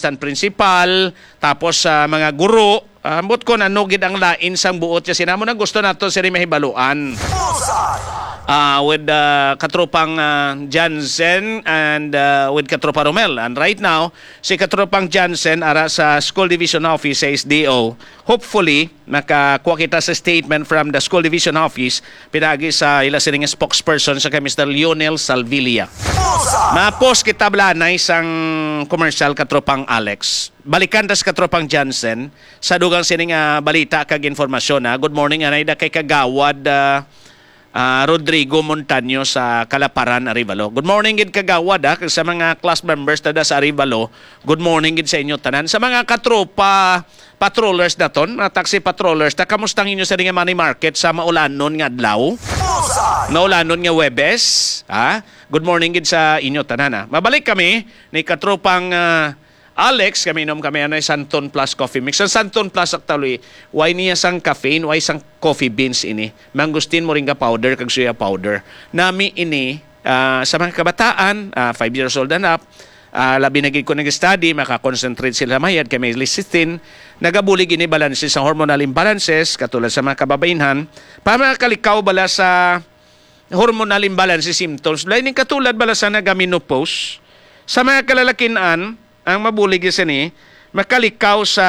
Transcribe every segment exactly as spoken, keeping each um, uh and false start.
assistant principal, tapos sa mga guro, ah, ambot ko ano gid ang lain sang buot siya. Sinamo na gusto nato sini mahibaluan. Ah, with, ah, katropang, ah, Jansen and, ah, with katropa Romel. And right now, si katropang Jansen ara sa School Division Office sa S D O. Hopefully, makakuha kita sa statement from the School Division Office, pinagi sa ila sining spokesperson sa kay Mister Lionel Salvilla. Mapos kita blanay sang commercial, katropang Alex. Balikan tas katropang Jansen sa dugang sining, ah, balita kag informasyon, ha. Good morning, anay da kay Kagawad, ah, ah, Rodrigo Montaño sa Kalaparan, Arevalo. Good morning gid, Kagawad, ha, kag sa mga class members tada sa Arevalo. Good morning gid sa inyo tanan. Sa mga katropa patrollers naton, mga taxi patrollers, ta, kamusta ang inyo sa nga money market sa maulanon nga adlaw? Maulanon nga Webes, ha? Good morning gid sa inyo tanan, ha. Mabalik kami ni katropang, ah, Alex, kami inom kami anay Santon Plus Coffee Mix. Ang Santon Plus actually, way niya sang caffeine, way sang coffee beans ini. Mangosteen, moringa powder, kag soya powder. Nami ini, ah, sa mga kabataan, ah, five years old and up, ah, labi na gid kung nag-study, maka-concentrate sila mayad kay may lecithin. Nagabulig ini balanse sa hormonal imbalances, katulad sa mga kababainhan. Para makalikaw bala sa hormonal imbalance symptoms, lain ning katulad bala sa nagamenopause. Sa mga kalalakin-an, ang mabulig sini makalikaw sa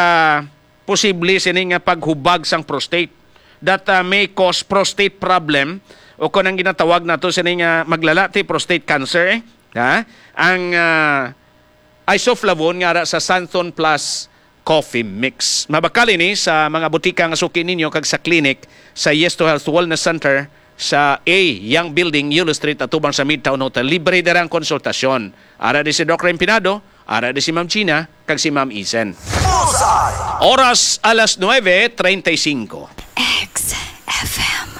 posible sini nga paghubag sang prostate that, ah, may cause prostate problem, o kon ang ginatawag nato sini nga maglalati prostate cancer, eh. Ha? Ang, ah, isoflavone nga ara sa Santon Plus Coffee Mix. Mabakal ini sa mga butika nga suki ninyo kag sa clinic sa Yes to Health Wellness Center sa A Young Building, Yulo Street, atubang sa Midtown Hotel. Libre dira ang konsultasyon. Ara di si Doc Rem Pinado, ara di si Ma'am Gina, kag si Ma'am Isen. Oras alas nuebe treinta y cinco. X F M.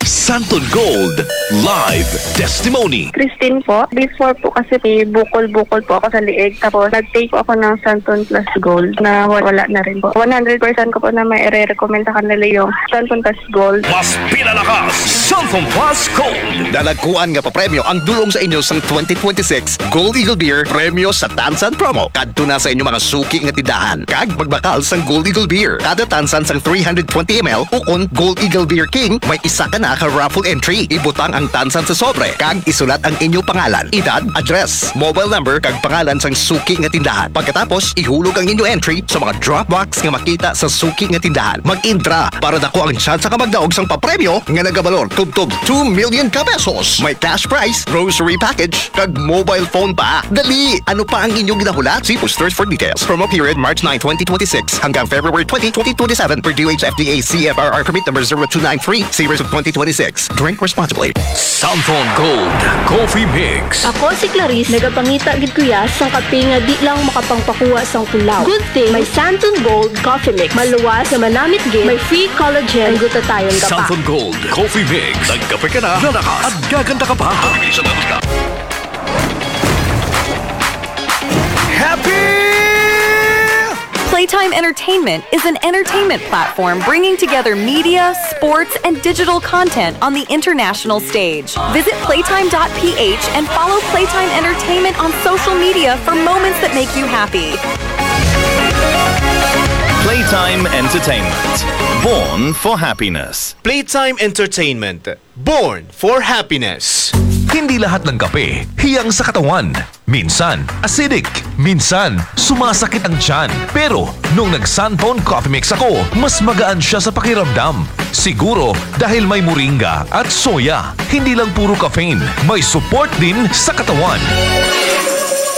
Santon Gold Live Testimony. Christine po. Before po kasi may bukol-bukol po ako sa liig. Tapos nag-take po ako ng Santon Plus Gold na wa-, wala na rin po. One hundred percent ko po na may ire-recommend sa kanila yung Santon Plus Gold. Mas pinalakas, Santon Plus Gold. Dalagkuan nga papremyo ang dulong sa inyo sang twenty twenty-six Gold Eagle Beer Premyo sa Tansan Promo. Kadto na sa inyo mga suki nga tindahan kag magbakal sang Gold Eagle Beer. Kada tansan sang three hundred twenty M L ukon Gold Eagle Beer King, may isa ka na ka raffle entry. Ibutang ang tansan sa sobre kag isulat ang inyo pangalan, edad, address, mobile number kag pangalan sang suki nga tindahan. Pagkatapos, ihulog ang inyo entry sa mga drop box nga makita sa suki nga tindahan. Mag-intra para dako ang tsansa ka magdaog sang papremyo nga nagabalor tubtob two million ka pesos. May cash prize, grocery package, kag mobile phone pa. Dali! Ano pa ang inyong ginahulat? See posters for details. Promo period March nine, twenty twenty-six hanggang February twenty, twenty twenty-seven, per D O H F D A C F R R permit number zero two nine three, series of twenty twenty-six. Drink responsibly. Santon Gold Coffee Mix. Ako si Clarice, nagapangita gid ko ya sang kape nga di lang makapangpakuha sang kulaw. Good thing may Santon Gold Coffee Mix. Maluwas nga manamit gid, may free collagen, ang gutatayon ka pa. Santon Gold Coffee Mix. Nagkape ka na, lalakas, at gaganda ka pa. Happy! Playtime Entertainment is an entertainment platform bringing together media, sports, and digital content on the international stage. Visit playtime dot P H and follow Playtime Entertainment on social media for moments that make you happy. Playtime Entertainment. Born for happiness. Playtime Entertainment. Born for happiness. Hindi lahat ng kape hiyang sa katawan. Minsan, acidic. Minsan, sumasakit ang tiyan. Pero, nung nag-Santon Coffee Mix ako, mas magaan siya sa pakiramdam. Siguro, dahil may moringa at soya. Hindi lang puro caffeine, may support din sa katawan.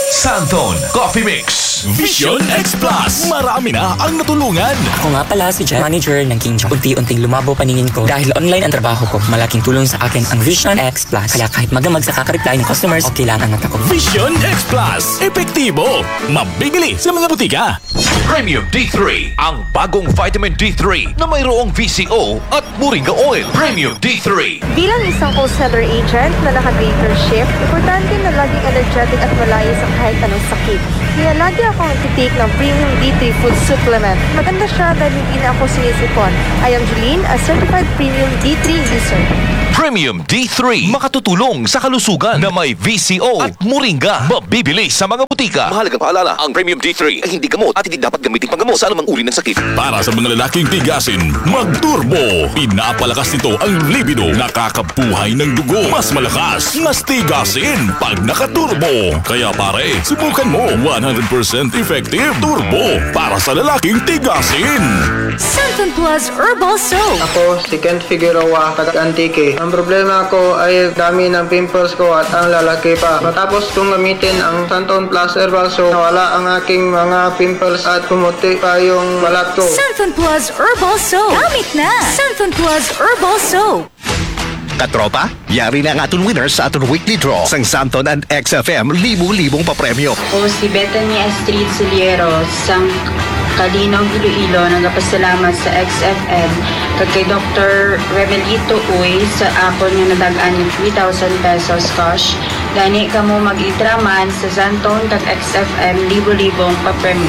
Santon Coffee Mix. Vision X Plus. Marami na ang natulungan. Ako nga pala si Jen, manager ng King John. Unti-unting lumabo paningin ko dahil online ang trabaho ko. Malaking tulong sa akin ang Vision X Plus. Kaya kahit magdamag sa kaka-reply ng customers, okay lang ang mata ko. Vision X Plus. Epektibo. Mabibili sa mga butika. Premium D three, ang bagong vitamin D three na mayroong V C O at moringa oil. Premium D three. Bilang isang call center agent na naka-graveyard shift, importante na laging energetic at malayo sa kahit anong sakit. Kaya lagi akong nagtitake ng Premium D three Food Supplement. Maganda siya dahil hindi na ako sinisipon. I am Julene, a certified Premium D three user. Premium D three makatutulong sa kalusugan na may V C O at moringa. Mabibili sa mga butika. Mahalagang paalala, ang Premium D three ay hindi gamot at hindi dapat gamitin panggamot sa anumang uri ng sakit. Para sa mga lalaking tigasin, mag-turbo. Pinapalakas nito ang libido, nakakabuhay ng dugo. Mas malakas, mas tigasin pag naka-turbo. Kaya pare, subukan mo. One hundred percent effective turbo para sa lalaking tigasin. Santon Plus Herbal Soap. Ako si Kent Figueroa, taga Antique. Ang problema ko ay dami ng pimples ko at ang lalaki pa. Matapos kong gamitin ang Santon Plus Herbal Soap, nawala ang aking mga pimples at pumuti pa yung balat ko. Santon Plus Herbal Soap. Gamit na! Santon Plus Herbal Soap. Katropa, yari na ang aton winner sa aton weekly draw sang Santon and X F M libo-libong papremyo. Ako si Bethany Astrid Suliero sang Calinog, Iloilo, nagapasalamat sa X F M kag kay Doktor Remelito Uy sa akon nga nadag-an nga three thousand pesos cash. Gani kamo mag-itra man sa Santon kag X F M libo-libong papremyo.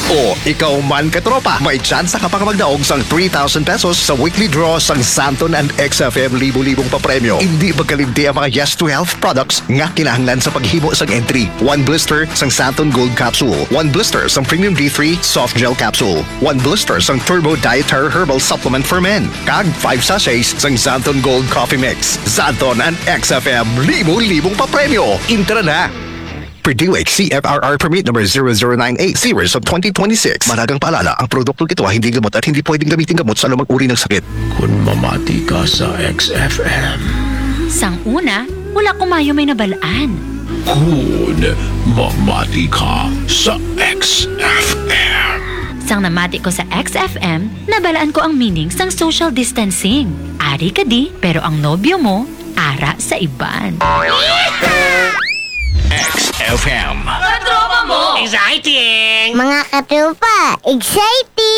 O ikaw man, katropa, may tsansa ka pa nga magdaog sang three thousand pesos sa weekly draw sang Santon and X F M libo-libong papremyo. Indi magkalimti ang mga Yes to Health products nga kinahanglan sa paghimo sang entry. One blister sang Santon Gold Capsule, one blister sang Premium D three Soft Gel Capsule, one blister sang Turbo Dietary Herbal Supplement for Men, kag five sachets sang Santon Gold Coffee Mix. Santon and X F M, libo-libong papremyo. Intra na! Per D O H C F R R Permit Number zero zero nine eight, Series of twenty twenty-six. Mahalagang paalala, ang produktong ito ay hindi gamot at hindi pwedeng gamitin gamot sa anumang uri ng sakit. Kung mamati ka sa X F M, Sang una, wala ko mayo may nabalaan. Kung mamati ka sa X F M, Sang namati ko sa X F M, nabalaan ko ang meaning sang social distancing. Ari ka di, pero ang nobyo mo, ara sa iban. X F M. Exciting! Mga katropa, exciting!